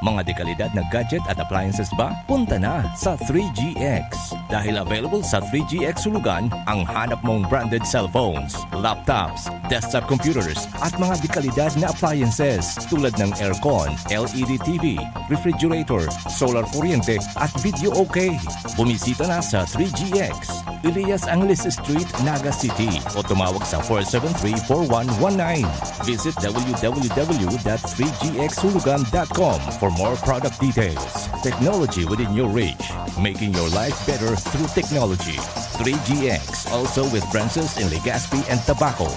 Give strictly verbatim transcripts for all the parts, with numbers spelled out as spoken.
Mga dekalidad na gadget at appliances ba? Punta na sa three G X. Dahil available sa three G X Hulugan ang hanap mong branded cellphones, laptops, desktop computers, at mga dekalidad na appliances tulad ng aircon, L E D T V, refrigerator, solar kuryente, at video okay. Bumisita na sa three G X, Elias Angeles Street, Naga City, o tumawag sa four seven three, four one one nine. Visit w w w dot three g x hulugan dot com for more product details. Technology within your reach, making your life better through technology. Three G X, also with branches in Legazpi and Tabaco.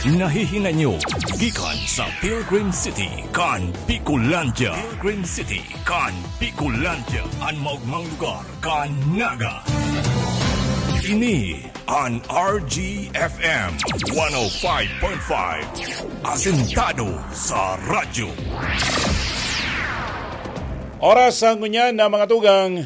Nahihinanyo gikan sa Pilgrim City kan Bicolandia. Pilgrim City kan Bicolandia, an maogmang lugar kan Naga. Ini an R G F M one oh five point five, asentado sa radyo. Oras sa ngunyan na mga tugang.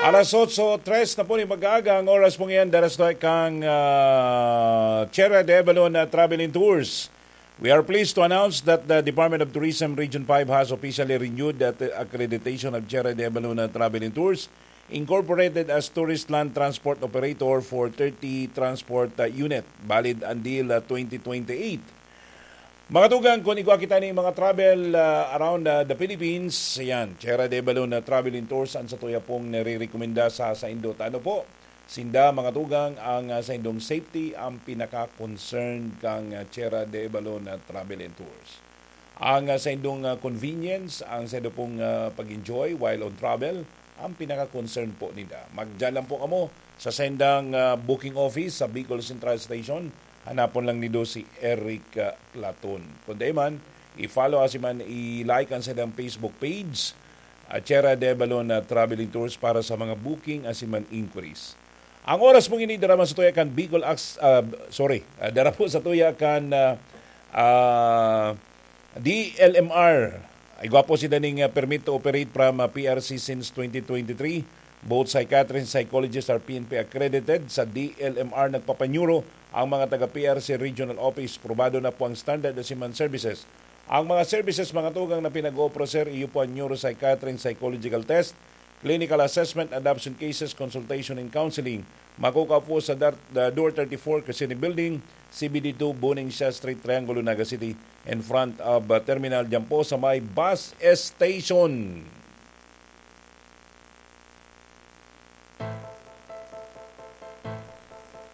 Alas otso tres na po ni mag-aaga ang oras pong iyan, daras to kang, ah, Tierra de Avalon, ah, Travel and Tours. We are pleased to announce that the Department of Tourism Region five has officially renewed the accreditation of Tierra de Avalon, ah, Travel and Tours Incorporated as Tourist Land Transport Operator for thirty transport, ah, unit, valid until, ah, twenty twenty-eight. Mga tugang, kung igwa kita ni mga travel, ah, around, ah, the Philippines, ayan, Tierra de Balon na Travel and Tours, ang satuya pong nare-rekomenda sa saindo. Tano po, sinda, mga tugang, ang, ah, saindong safety, ang pinaka-concern kang, ah, Tierra de Balon na Travel and Tours. Ang, ah, saindong, ah, convenience, ang saindo pong, ah, pag-enjoy while on travel, ang pinaka-concern po ninda. Magdiyan lang po kamo sa saindang, ah, booking office sa Bicol Central Station. Hanapon lang nindo si Eric, ah, Platon. Kung dai man, i-follow asin man i-like ang saindang Facebook page, ah, Tierra de Balon, ah, Traveling Tours para sa mga booking asin man inquiries. Ang oras pong ini, dara man sa tuya kan Bicol Ax-, ah, sorry, ah, dara po sa tuya kan, ah, ah, D L M R. Igwa po sinda ning, ah, permit to operate from, ah, P R C since twenty twenty-three. Both psychiatrists and psychologists are P N P accredited. Sa D L M R nagpapanyuro ang mga taga P R C Regional Office. Probado na po ang standard na siman services. Ang mga services, mga tugang, na pinag-oopera, sir, iyo po ang neuropsychiatry and psychological test, clinical assessment, adoption cases, consultation and counseling. Makukua po sa dar-, the door thirty-four, Crescent Building, C B D two, Buning Siya Street, Triangulo, Naga City, in front of, uh, terminal, dyan po sa may bus station.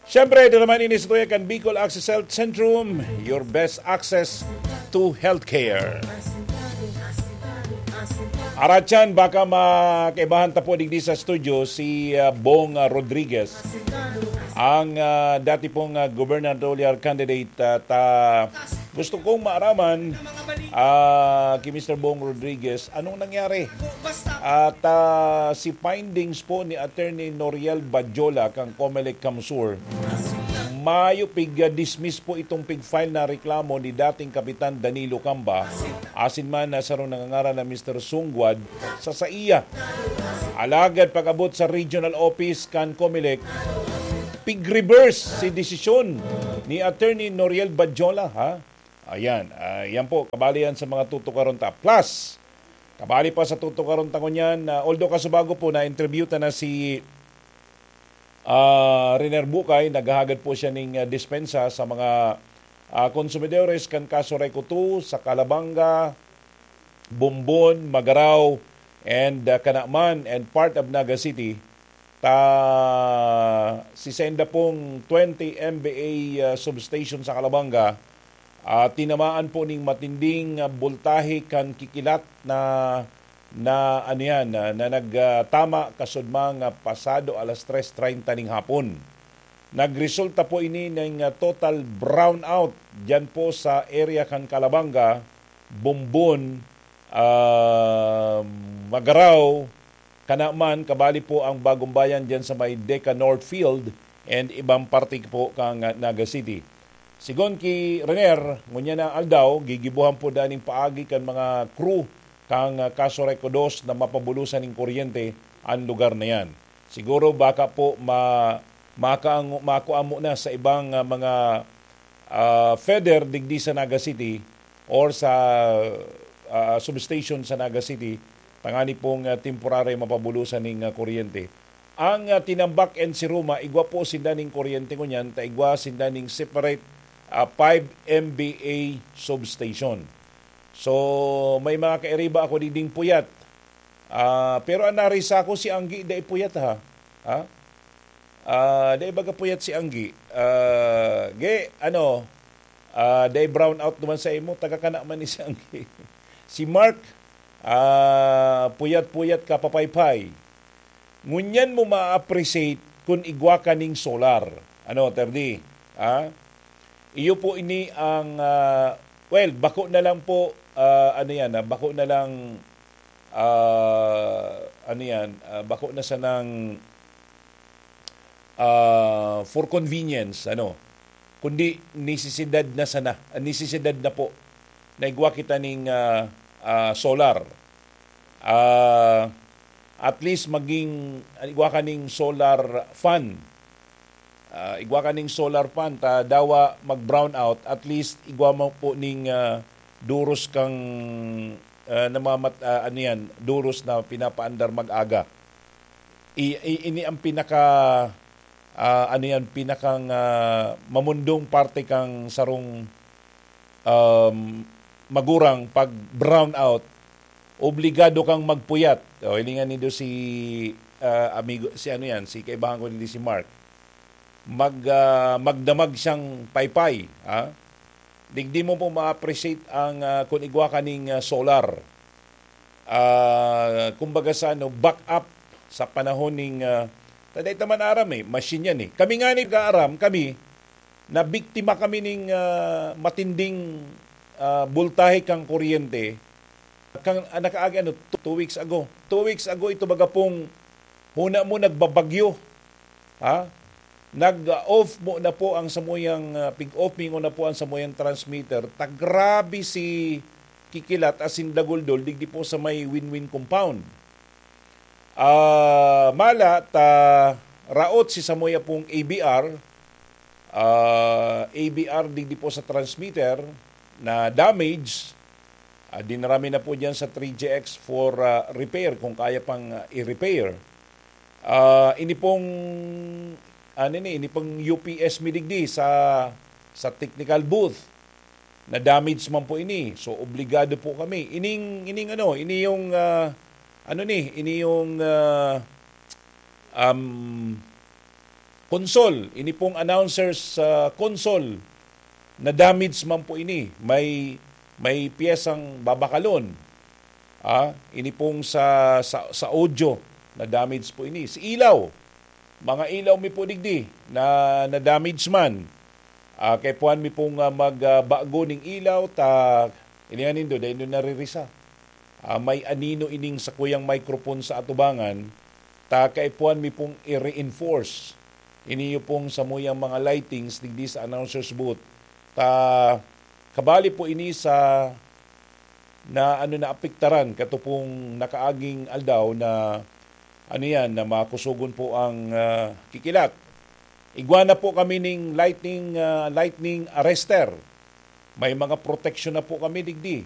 Siyempre, ito naman ini sa tuya kan Bicol Access Health Centrum, your best access to healthcare. Aratyan, baka makaibahan ta po digdi sa studio si, ah, Bong, ah, Rodriguez, ang, ah, dati pong, ah, gubernatorial candidate, ah, ta gusto kong maaraman, ah, ki Mister Bong Rodriguez, anong nangyari? At, ah, si findings po ni Attorney Noriel Badjola kang Comelec CamSur, mayo pig-dismiss po itong pig-file na reklamo ni dating Kapitan Danilo Camba, asin man na sarong nangangaran na Mister Sungguad sa saiya. Alagad pag-abot sa regional office kan Comelec, pig-reverse si desisyon ni Attorney Noriel Badjola, ha? Ayan, ah, yan po, kabali yan sa mga tutukaron ta. Plus, kabali pa sa tutukaron ta ngunyan, ah, although kasubago po na-interview ta na si, ah, Riner Bukay, naghahagad po siya ning, ah, dispensa sa mga, ah, konsumidores kan Kaso Reco two, sa Calabanga, Bombon, Magarao, and, ah, Canaman, and part of Naga City. Ta, si senda pong twenty M V A, ah, substation sa Calabanga, ah, tinamaan po ning matinding, ah, boltahe kan kikilat na, na ano yan, na, na nag, ah, tama kasudmang, ah, pasado alas tres treinta ning hapon. Nagresulta po ini ning, ah, total brownout diyan po sa area kan Calabanga, Bombon, ah, Magarao, Canaman, kabali po ang Bagong Bayan diyan sa may Deca North Field and ibang parte po kang, ah, Naga City. Sigon ki Riner, ngunyan na aldaw, gigibuhan po daning paagi kan mga crew kang, ah, Kaso Reco dos na mapabulosan ning kuryente ang lugar na yan. Siguro baka po ma-, makaang-, makuha mo na sa ibang, ah, mga, ah, feeder digdi sa Naga City or sa, ah, substation sa Naga City, tangani pong, ah, temporary mapabulusan ning, ah, kuryente. Ang, ah, Tinambac and Siruma, igwa po sinda ning kuryente ngunyan, ta igwa sinda ning separate, ah, five M V A substation. So, may mga kairiba ako diding puyat. Ah, pero ang narisa ko si Anggi, dai puyat, ha? Ha? Ah, dai baga puyat si Anggi. Ah, ge, ano, ah, dai brown out naman sa imo, taga kana man ni si Anggi. Si Mark, ah, puyat-puyat ka, papaypay. Ngunyan mo ma-appreciate kun igwa ka ning solar. Ano, Terdi? Ha? Iyo po ini ang, ah, well, bako na lang po, ah, ano yan, ah, bako na lang, ah, ano yan, ah, bako na sanang, ah, for convenience, ano, kundi nisisidad na sana, ah, nisisidad na po na igwa kita ning, ah, ah, solar. Ah, at least maging, igwa ka ning solar fan. Ah, igwa ka ning solar fan, ta dawa mag-brownout, at least igwa mo po ning, ah, duros kang, ah, namamat-, ah, ano yan, duros na pinapaandar mag-aga. I-, i-, ini ang pinaka, ah, ano yan, pinakang, ah, mamundong parte kang sarong, um, magurang pag brownout, obligado kang magpuyat. O, hilingan nindo si, ah, amigo, si ano yan, si kaibahan ko, hindi si Mark. Mag, ah, magdamag siyang paypay, ha? Digdi mo po ma-appreciate ang, ah, kung igwa ka ning, ah, solar. Ah, kumbaga sa ano, back up sa panahon ning, ah, ta dai ta man aram eh, machine yan eh. Kami nga ni kaaram, kami, nabiktima kami ning, ah, matinding, ah, bultahe kang kuryente. Kang, ah, nakaagi, ano, two, two weeks ago. Two weeks ago, ito baga pong huna mo nagbabagyo. Ha? Nag-off mo na po ang samuyang, ah, pig-off mo na po ang samuyang transmitter. Ta grabe si Kikilat asin Daguldol digdi po sa may Win-Win Compound. Ah, mala ta raot si samuya pong A B R, ah, A B R digdi po sa transmitter na damage. Ah, dinara mi na po diyan sa three G X for, ah, repair kung kaya pang, ah, i-repair. Ah, ini pong, ano ni, ini pong U P S mi digdi sa, sa technical booth na damage man po ini. So, obligado po kami. Ining, ining ano, ini yung, ah, ano ni, ini yung, ah, um, console. Ini pong announcer's, ah, console na damage man po ini. May, may piyesang babakalon. Ah, ini pong sa, sa, sa audio na damage po ini. Si ilaw, mga ilaw mi po digdi na, na damage man. Ah, kaipuhan mi pong, ah, mag, ah, bago ning ilaw, ta, ini nga nindo, dai nindo naririsa. Ah, may anino ining sakuyang microphone sa atubangan, ta kaipuhan mi pong i-reinforce. Ini pong samuyang mga lightings digdi sa announcer's booth. Ta, kabali po ini sa na ano, naapektaran kato pong nakaaging aldaw na, ano yan, na makusogon po ang, ah, Kikilat. Igwa na po kami ning lightning, ah, lightning arrester. May mga proteksyon na po kami digdi.